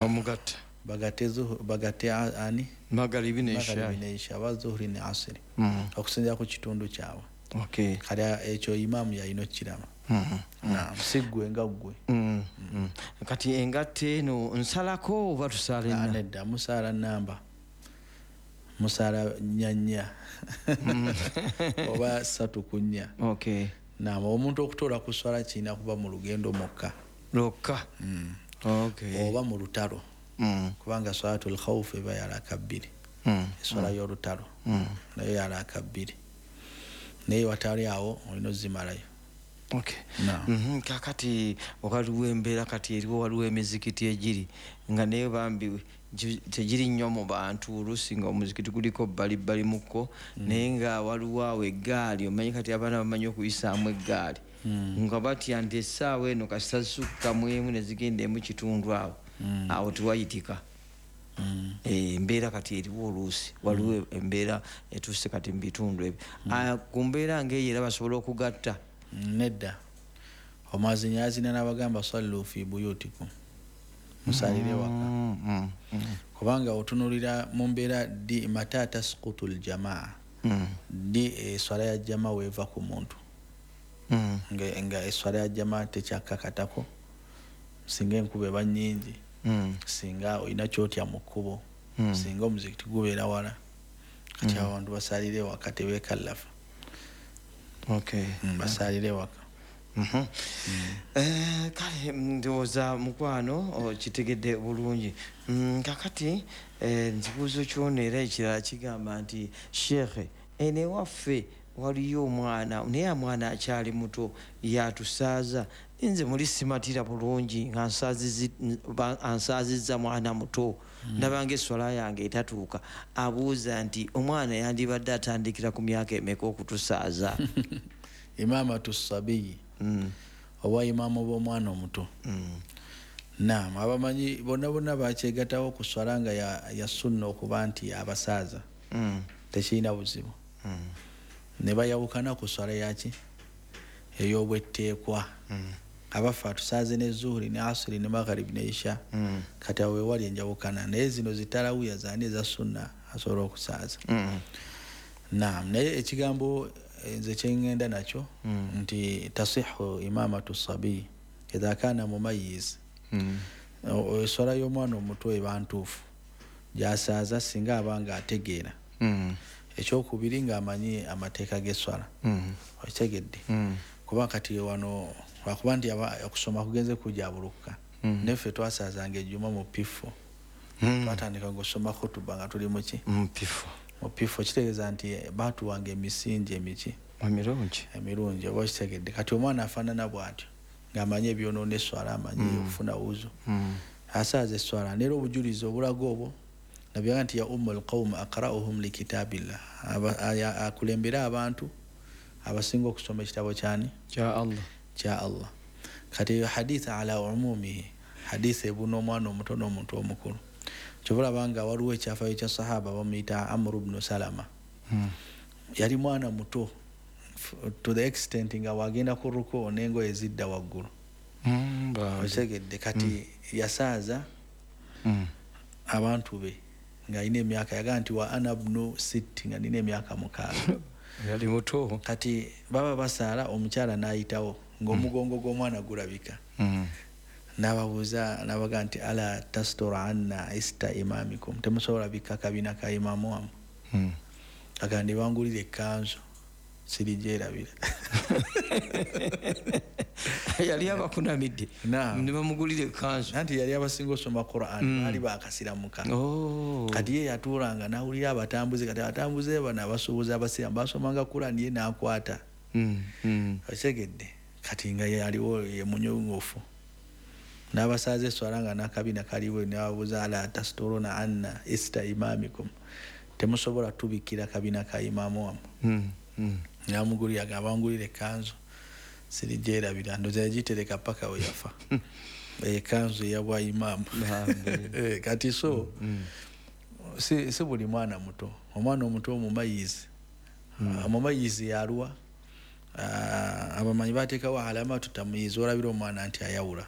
Omugatte. Bagatte ani? Magaribi ne Magharibi Isha. Ne Isha oba Zuhuri ne Asiri, okusinziira ku kitundu kyabwe. Kale ekyo imaamu yalina okukiraba. Naam, si ggwe nga ggwe. Kati engatte eno nsalako oba tusaala Ah, enna? Nedda, musaala namba, musaala nnya nnya oba 3 ku 4. Naam, omuntu okutoola ku swala kirina kuba mu lugendo mukka. Lwokka. Oba mu lutalo, kubanga swalatul khawfu eba yalaka 2. Eswala y'olutalo nayo yalaka 2, naye watali awo olina ozimalayo. Naam. Kakati waliwo embeera kati eriwo, waliwo emizikiti egiri nga naye bambi tegiri nnyo mu bantu, oluusi nga omuzikiti guliko bbali mukko, naye nga waliwo awo eggaali. Omanyi kati abaana bamanyi okuyisaamu eggaali, nga batya nti essaawa eno kasita zisukka mu emu ne zigenda emu kitundu, awo awo tewayitika. Embeera kati eriwo, oluusi waliwo embeera etuuse kati mu bitundu ebyo. Ah, ku mbeera ngaeyo era basobola okugatta? Nedda, omwazinyi azina n'abagamba sallu fi buyutikum, musalire waka. Kubanga otunulira mu mbeera ddi mata taskutu ljamaa, ddi eswala ya jama weeva ku muntu, nga eswala ya jama tekyakakatako singa enkuba eba nnyingi, singa olina kyotya mu kkubo, singa omuzikiti gubeera wala. Kati abantu basalire waka, tebekallafa. Basalire waka. Kale ndowooza mukwano okitegedde bulungi. Kakati nkibuuzo kyono era ekirala kigamba nti, sheekhe, eno ewaffe waliyo omwana, naye omwana akyali muto yatusaaza. Nze muli simatira bulungi nga ansaazizza mwana muto, ndabanga eswala yange etatuuka. Abuuza nti omwana yandibadde atandikira ku myaka emeka okutusaaza? Imamatu sabiyi, oba imaamu b'omwana omuto. Naam, abamanyi bonna bonna bakyegatawo ku swala nga ya sunna okuba nti abasaaza, tekirina buzibu. Ne bayawukana ku swala yaki ey'obwetteekwa. Abaffe atusaaze ne Zuhuri ne Asiri ne Magharibi ne Isha? Kati awo wewali enjawukana, naye zino zitalawiya zani eza sunna asobola okusaaza. Naam, naye ekigambo nze kyeŋŋenda nakyo nti tasihu imamatu sabiyi idha kana mumayiz. Eswala y'omwana omuto eba ntuufu gyasaaza singa aba nga ategeera. Ekyokubiri, ng'amanyi amateeka g'eswala. Okitegedde? Kuba kati wano lwakuba nti okusoma kugenze kujabulukuka. Neffe twasaazanga ejjuma mu P4. Twatandika ng'osoma khutuba nga tuli muki? Mpifu. Mu P4. Kitegeeza nti baatuwanga emisingi emiki? Emirungi. Emirungi, oba okitegedde? Kati omwana afaanana bw'atyo ng'amanyi ebyonoona eswala, amanyi okufuna wuzu, asaaza eswala. Neera obujulizi obulaga obwo nabyaga nti ya ummu lqaum aqrauhum likitabillah. Akulembere abantu abasinga okusoma ekitabo kyani? Kya Allah. Kya Allah. Kati eyo hadith ala umumihi, hadith ebuna omwana omuto n'omuntu omukulu. Kyova olaba nga waliwo ekyafayo kya sahaba bamuyita Amru bnu Salama. Yali mwana muto to the extent nga wagenda ku ruku n'engoye zidda waggulu. Bambi. Okitegedde? Kati yasaaza abantu be ng'alina emyaka, yagaa nti wa ana bnu sitti, nga nina emyaka 6. Yali muto. Kati baba basaala, omukyala n'ayitawo ng'omugongo gw'omwana gulabika. N'ababuuza, n'abaga nti ala tastura anna ista imamikum, temusobola bikka kabina ka imaamu wammwe? Agamba ne bangulira ekkanzu, sirigyerabira. Yali abakunamidde. Naam. Ne bamugulira ekkanzu. Anti yali abasinga osoma Quran. Baali bakasiramuka. Oh. Kati ye yatuulanga n'awulira abatambuze. Kati abatambuze bano abasuubuzi abasiramu basomanga Quran, ye n'akwata. Okitegedde? Kati nga yaliwo ye munyongofu n'abasaaza eswala nga n'akabina kaliwo, n'ababuuza ala tasturuna anna ista imamikum, temusobola tubikkira kabina ka imaamu wammwe? Namugulira, abangulira ekkanzu, sirigyerabira. Ndoza yagitereka paka we yafa, ekanzu eyabwa imaamu. Bambi. Kati so si buli mwana muto. Omwana omuto omumayizi, omumayizi yaluwa? Ah, abamanyi bateekawo alamatu tamyizi, olabira omwana nti ayawula.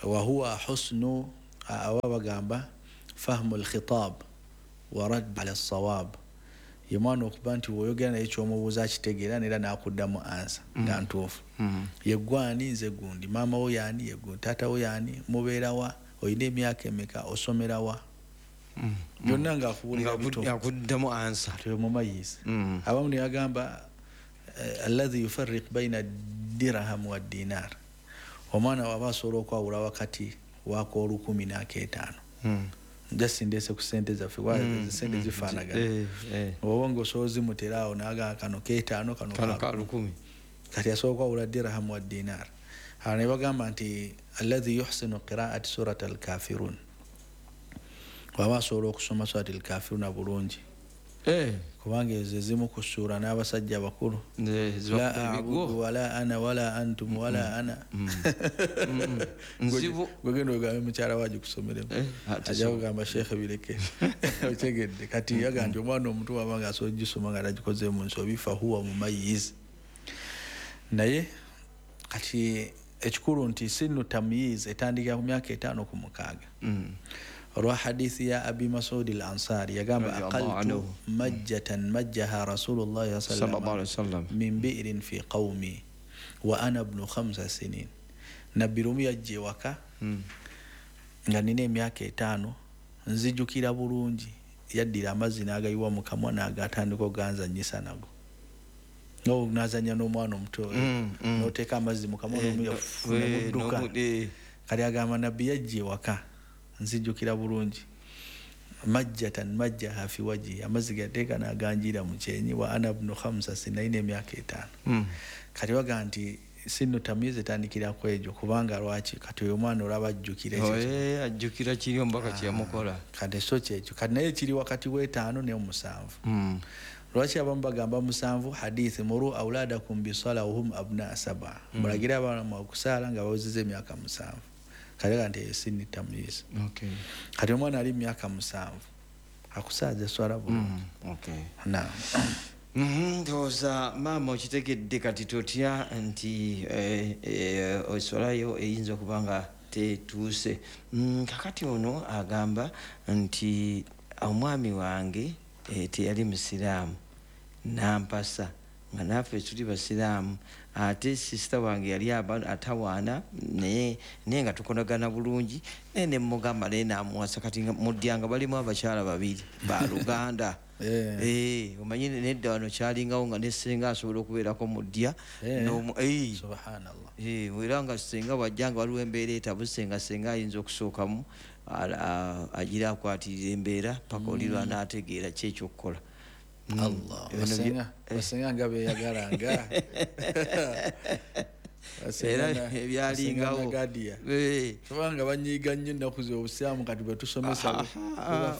Wahuwa husnu aba bagamba fahmu alkhitab wa radd ala sawab, ye mwana okuba nti woyogera naye kyomubuuza akitegeera nera n'akuddamu ansa nga ntuufu. Ye gwani, nze gundi, maama wo yaani, ye gundi, taata wo yaani, mubeerawa, olina emyaka emeka, osomerawa, byonna ng'akubuulira bito, akuddamu ansa. Mumayizi. Abamu ne bagamba alladhi yufarriq baina dirham wa dinar, omwana waba asobola okwawula wakati w'akoolukumi n'akeetaano. Just ndeese ku ssente zaffe, sente zifaanagana, oba ng'osobola zimutera awo n'agamba kano keetaano, kano ka lukumi. Kati asobola okwawula dirham wa dinar. Awo ne bagamba nti alladhi yuhsinu qira'ati surat al-kafirun, waba asobola okusoma surat al-kafiruna bulungi, kubanga ezo ezimu ku ssuura n'abasajja abakulu, la a'budu wala ana wala antum wala ana. Nzibu gwegenda ogambe mukyala waagi kusomeremu, ajja kugamba sheekhe bireke. Otegedde? Kati yaga nti omwana omuto waba nga asobola ogisoma nga tagikoze mu nsobi, fahuwa mumayiz. Naye kati ekikulu nti sinu tamyiz etandikira ku myaka 5 ku 6. Olwa hadithi ya Abi Masud al-Ansari yagamba aqaltu majjatan majjaha Rasulullah sallallahu alaihi wasallam min bi'rin fi qawmi wa ana ibnu 5 sinin. Nabbi lumu yajja ewaka nga nina emyaka 5, nzijukira bulungi, yaddira amazzi n'agayiwa mu kamwa n'agatandika oganzannyisa nago. N'azannya n'omwana omuto, n'oteeka amazzi mu kamwa n'omudduka. Kati agamba nabbi yajja ewaka, nzijukira bulungi, majjatan majjaha fi wajhi, amazzi gateeka n'aganjira mu kyenyi, wa ana ibnu 5 sinin, emyaka 5. Kati baga nti sinu tamyiz etandikira ku egyo, kubanga lwaki kati oyo omwana olaba ajjukira ekyo, ajjukira kiri omubaka kyeyamukola. Kati so kyekyo, kati naye kiri wakati w'5 ne 7. Lwaki abamu bagamba 7? Hadithi muru auladakum bisala wahum abna 7, mulagira abaana mwe okusaala nga bawezezza emyaka 7. Kale nti sini tamyiz. Kati omwana ali myaka 7 akusaaza eswala bulungi. Naam. Ndowooza maama okitegedde. Kati totya nti eswala yo eyinza okuba nga tetuuse. Kakati ono agamba nti omwami wange teyali musiraamu, nampasa nga naffe tuli basiraamu, ate sisita wange yali atawaana naye nga tukolagana bulungi, naye ne mugamba naye namuwasa. Kati mudyanga balimu abakyala babiri baluganda. Omanyi nedda wano kyalingawo nga ne ssenga asobola okubeerako mu ddya. Subhanallah. Era nga ssenga bw'ajja nga waliwo embeera etabuse, nga ssenga ayinza okusookamu agira akwatirira embeera paka oli lw'anaategeera ki ekyokukola. Allah, basenga nga beeyagalanga. Era ebyalingawo kubanga banyiiga nnyo ennaku z'obusiraamu kati bwe tusomesa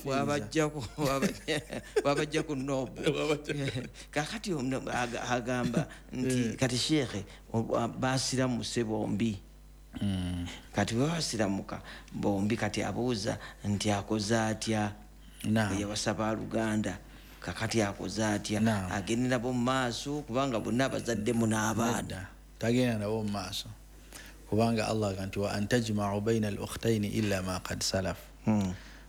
wabajja ku nobu. Kakati agamba nti kati sheekhe basiramuse bombi. Kati bwe basiramuka bombi, kati abuuza nti akoze atya? Yawasa baluganda, kakati akoze atya? Agende nabo mu maaso kubanga bonna abazaddemu n'abaana? Tagenda nabo mu maaso, kubanga Allah agamba nti wa antajma'u baina al-ukhtaini illa ma qad salaf.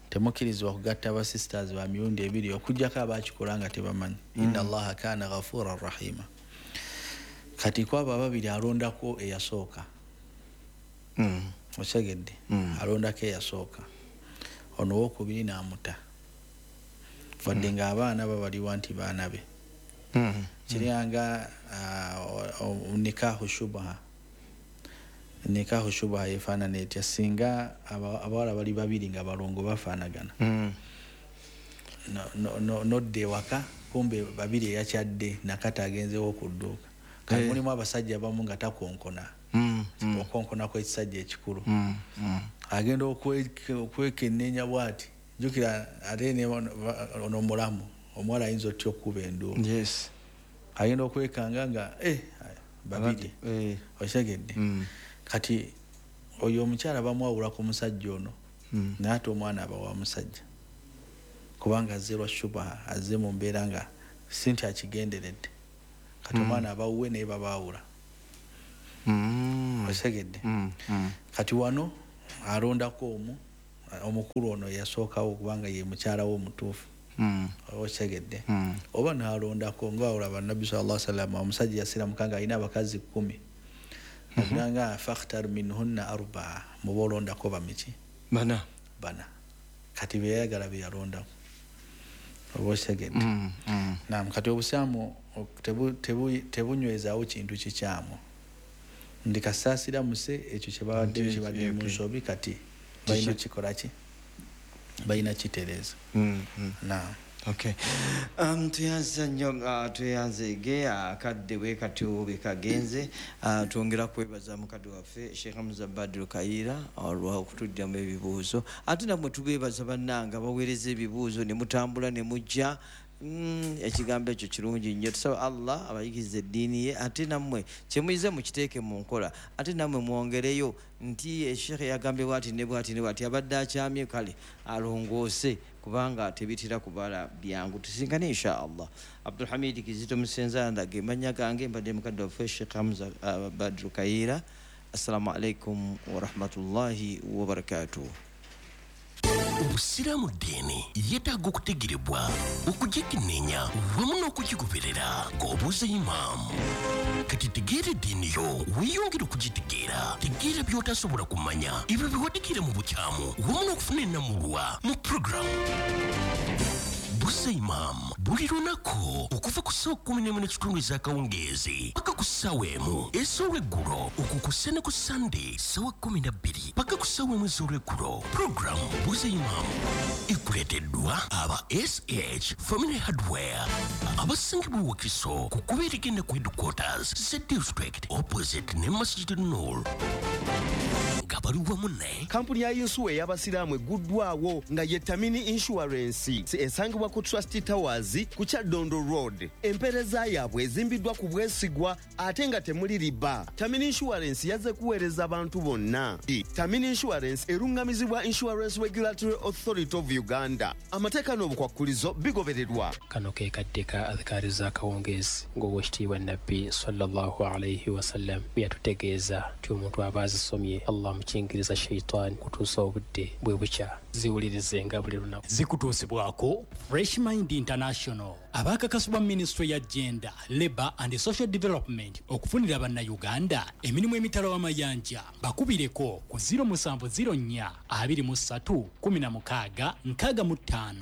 Temukkirizibwa kugatta ba sisters ba mirundi ebiri okuggyako abakikola nga tebamanyi. Inna Allaha kana ghafuran rahima. Kati kwabo ababiri alondako eyasooka. Okitegedde? Alondako eyasooka, ono owokubiri n'amuta, wadde ng'abaana babaliwa nti baana be. Kiryanga nikahu shubha. Nikahu shubha yefaanana etya? Singa abawala bali babiri nga balongo bafaanagana, nodda ewaka kumbe babiri eyakyadde nakati agenzewo ku dduuka. Kati mulimu abasajja abamu nga takonkona, okonkona kw'ekisajja ekikulu, agenda okwekenneenya bw'ati, jjukira ate ono mulamu omuwala ayinza otya okukuba enduulu. Agenda okwekanga nga babiri. Okitegedde? Kati oyo omukyala bamwawula ku musajja ono, naye ate omwana aba wa musajja, kubanga azze lwa shubaha, azze mu mbeera nga si nti akigenderedde. Kati omwana abawuwe naye babaawula. Okitegedde? Kati wano alondako omu, Omukulu ono yasookawo kubanga ye mukyala we omutuufu. Okitegedde? Oba nalondako, nga olaba Nabbi sallallahu alaihi wasallam, omusajja yasiramuka nga alina abakazi 10, nga fakhtar minhunna arbaa, muba olondako bamiki? Bana. Bana. Kati beyayagala beyalondako. Oba okitegedde? Naam. Kati obusiraamu tebunywezaawo kintu kikyamu, ndi kasaasira muse ekyo kyebabadde kibadde mu nsobi, kati balina kikola ki? Balina kitereeza. Naam. Okay. Tuyanza nnyo, tweyanzeege. Akadde bwe katyo bwe kagenze. Twongera kwebaza mukadde waffe Sheikh Hamza Badru Kayiira olw'okutujjamu ebibuuzo, ate nammwe tubeebaza bannanga baweereza ebibuuzo ne mutambula ne mujja. Ekigambo ekyo kirungi nnyo. Tusaba Allah abayigirize eddiini ye, ate nammwe kyemuyize mukiteeke mu nkola, ate nammwe mwongereyo nti Sheikh yagambye bwati ne bwati ne bwati, abadde akyamye, kale alongoose, kubanga tebitera kubala byangu. Tusinkane insha Allah. Abdulhamid Kizito Musenza ge mannya gange, mbadde mukadde waffe Sheikh Hamza Badru Kayiira. Assalamu alaikum warahmatullahi wabarakatuh. Obusiraamu ddiini yeetaaga okutegerebwa, okugikenneenya wamu n'okugigoberera ng'obuuza imaamu. Kati tegeera eddiini yo, weeyongere okugitegeera. Tegeera by'otasobola kumanya, ebyo biwadikire mu bukyamu wamu n'okufuna ennamulwa mu puroguramu Buuza Imaamu buli lunaku okuva ku ssaawa 11:15 ez'akawungeezi paka ku ssaawa 1 ez'olweggulo, okwo ku ne ku Sande ssaawa 12 paka ku ssaawa 1 ez'olweggulo. Puroguramu Buuza Imaamu ekuleeteddwa aba SH Family Hardware abasangibwa Wakiso ku kkubo erigenda ku headquarters za district, opposite ne Masjid Nur, nga bali wamu ne Kampuni ya yinsuwa ey'abasiraamu egguddwawo nga ye Tamini Insurance, esangibwa ku Trust Towers ku Kyaddondo Road. Empeereza yaabwe ezimbiddwa ku bwesigwa ate nga temuli riba. Tamini Insurance yazze kuweereza abantu bonna. Tamini Insurance eruŋŋamizibwa Insurance Regulatory Authority of Uganda. Amateeka n'obukwakkulizo bigobererwa. Kano ke kadde ka adhikaari z'akawungeezi, ng'Oweekitiibwa Nabbi sallallahu alaihi wasallam bwe yatutegeeza nti omuntu aba azisomye, Allah amukingiriza shaitaani kutuusa obudde bwe bukya. Ziwulirizenga buli lunaku. Zikutuusibwako Fresh Mind International, abakakasibwa Minisitule ya Gender, Labour and Social Development okufunira Bannayuganda emirimu emitala w'amayanja. Bakubireko ku 0704 23 16 65.